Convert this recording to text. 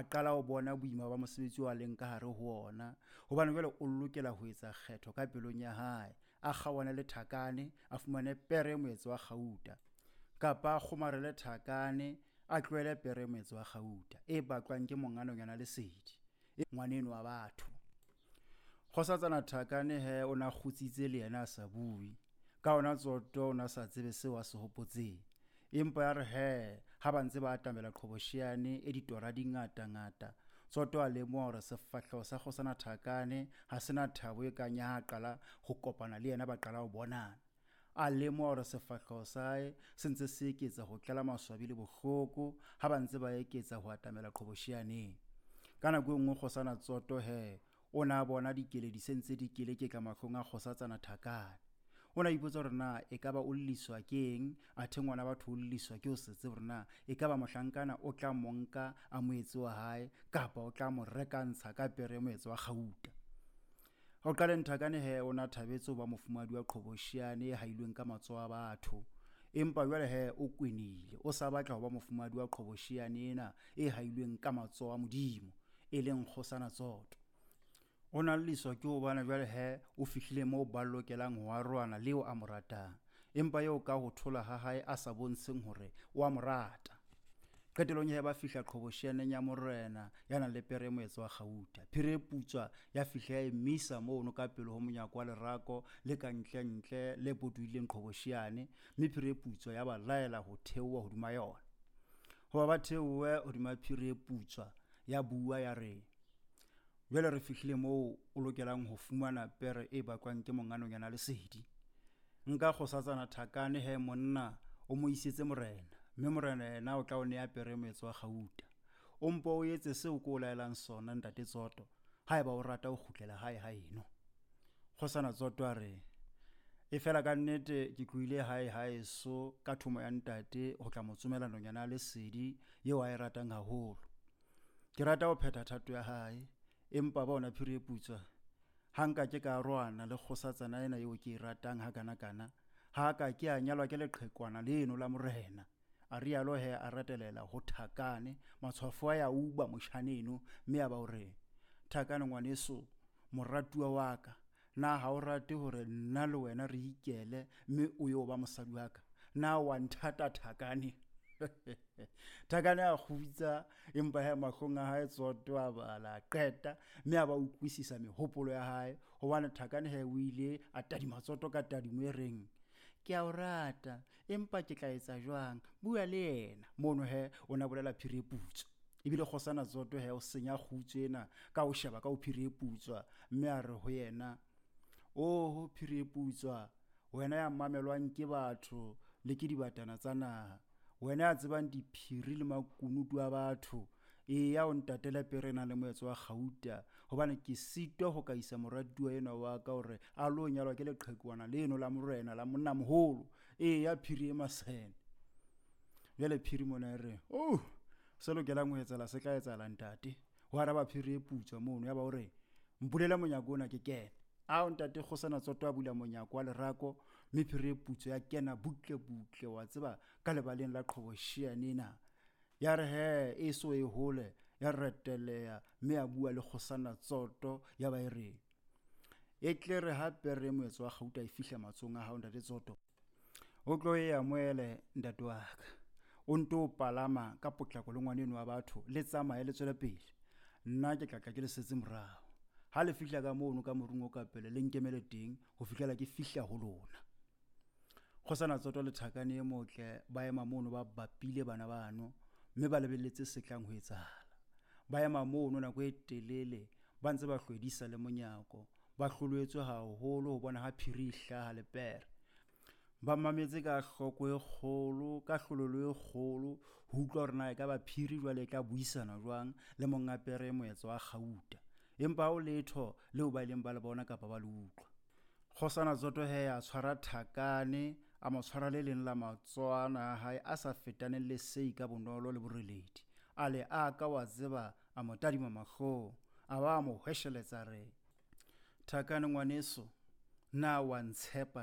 qala ho bona boima ba mosebetsi oo a leng ka hare ho ona, hobane jwale o lokela ho etsa kgetho ka pelong ya hae, a kgaohane le Thakane, a fumane pere e moetso wa kgauta, kapa a kgomarele Thakane, a tlohele pere e moetso wa kgauta e batlwang ke monga nonyana Lesedi, e ngwaneno wa batho. Kgosatsana Thakane he o na kgutsitse le yena a sa bue. Ka hona Tsoto o na sa tsebe seo a se hopotseng. Empa ya re he ha ba ntse ba atamela qhobosheane e ditora di ngata-ngata, Tsoto a lemoha hore sefahleho sa Kgosana Thakane ha se na thabo e kang ya ha a qala ho kopana le yena ba qala ho bonana. A lemoha hore sefahleho sa hae se ntse se eketsa ho tlala maswabi le bohloko ha ba ntse ba eketsa ho atamela qhobosheaneng. Ka nako e nngwe Kgosana Tsoto he o ne a bona dikeledi se ntse di keleketla mahlong a Kgosatsana Thakane. O ne a ipotsa hore na ekaba o lliswa ke eng, athe ngwana batho o lliswa ke ho se tsebe hore na ekaba mohlankana o tla mo nka a mo etse wa hae kapa o tla mo rekantsha ka pere e moetso wa kgauta. Ho qaleng Thakane he o ne a thabetse ho ba mofumahadi wa qhobosheane e hailweng ka matsoho a batho. Empa jwale he o kwenile, o sa batla ho ba mofumahadi wa qhobosheane ena e hailweng ka matsoho a Modimo, e leng Kgosana Tsoto. O na lliswa ke hobane jwale he o fihlile moo ba lokelang ho arohana le eo a mo ratang, empa eo ka ho thola ha hae a sa bontsheng hore o a mo rata. Qetellong he ba fihla qhobosheaneng ya morena ya nang le pere e moetso wa kgauta. Phiri e putswa ya fihla ya emisa mono ka pele ho monyako wa lerako le ka ntlentle le potolohileng qhobosheane, mme phiri e putswa ya ba laela ho theoha hodima yona. Hoba ba theohe hodima phiri e putswa, ya bua ya re, Jwale re fihlile moo o lokelang ho fumana pere e bakwang ke monga nonyana Lesedi. Nka kgosatsana Thakane he monna o mo isetse morena, mme morena yena o tla o nea pere e moetso wa kgauta. O mpo o etse seo ke o laelang sona, ntate Tsoto, haeba o rata ho kgutlela hae haeno. Kgosana Tsoto a re, Efela ka nnete ke tlohile hae haeso ka thomo ya ntate ho tla mo tsomela nonyana ya Lesedi eo a e ratang haholo. Ke rata ho phetha thato ya hae, empa bona phiri e putswa, ha nka ke ka arohana le kgosatsana ena eo ke e ratang hakanakana, ha ka ke a nyalwa ke leqhekwana leno la morena. A rialo he a retelela ho Thakane, matshwafo a ya uba moshaneno, mme a ba o re, Thakane ngwaneso, moratuwa wa ka, na ha o rate hore nna le wena re ikele mme o yo ba mosadi wa ka? Na wa nthata Thakane? Thakane a kgutsa, empa he mahlong a hae Tsoto a bala a qeta, mme a ba utlwisisa mehopolo ya hae, hobane Thakane he o ile a tadima Tsoto ka tadimo e reng, Ke a o rata, empa ke tla etsa jwang? Bua le yena. Mono he o ne a bolela phiri e putswa. Ebile Kgosana Tsoto he o senya kgutso ena ka ho sheba ka ho phiri e putswa, mme a re ho yena, Oho phiri e putswa, wena ya mamelwang ke batho le ke dibatana tsa naha, wena ya tsebang diphiri le makunutu a batho, eya o ntatele pere e nang le moetso wa kgauta, hobane ke sitwa ho ka isa moratuwa enwa wa ka hore a lo nyalwa ke leqhekwana leno la morena la monnamoholo. Eya phiri e masene. Jwale phiri mona e re, Oh, se lokelang ho etsahala se tla etsahala ntate. Ho araba phiri e putswa mono, ya ba o re, Mpulele monyako ona ke kene. Ao ntate Kgosana Tsoto a bula monyako wa lerako, mme phiri e putswa ya kena butle butle, wa tseba, ka lebaleng la qhobosheane ena. Ya re he e so e hole, ya reteleha mme ya bua le Kgosana Tsoto, ya ba e re, E tle re ha pere e moetso wa kgauta e fihla matsohong a hao ntate Tsoto, o tlo e amohele ntate wa ka, o nto palama ka potlako le ngwaneno wa batho, le tsamaye le tswele pele. Nna ke tla tla ke le setse morao. Ha le fihla ka mono ka morung o ka pele, le nkemele teng ho fihlela ke fihla ho lona. Kgosana Tsoto le Thakane e motle ba ema mono ba bapile bana bano, mme ba lebelletse se tlang ho etsahala. Ba ema mono nako e telele ba ntse ba hlwedisa le monyako, ba hloloetswe haholo ho bona ha phiri e hlaha le pere. Ba mametse ka hloko e kgolo, ka hlololo e kgolo, ho utlwa hore na ekaba phiri jwale e tla buisana jwang le monga pere e moetso wa kgauta. Empa ha ho letho leo ba ileng ba le bona kapa ba le utlwa. Kgosana Tsoto he a tshwara Thakane, a mo tshwara le leng la matsoana a hae a sa fetaneng le sei ka bonolo le boreledi. A le aka wa tseba, a mo tadima mahlong, a ba a mo hwesheletsa a re, Thakane ngwaneso, na wa ntshepa?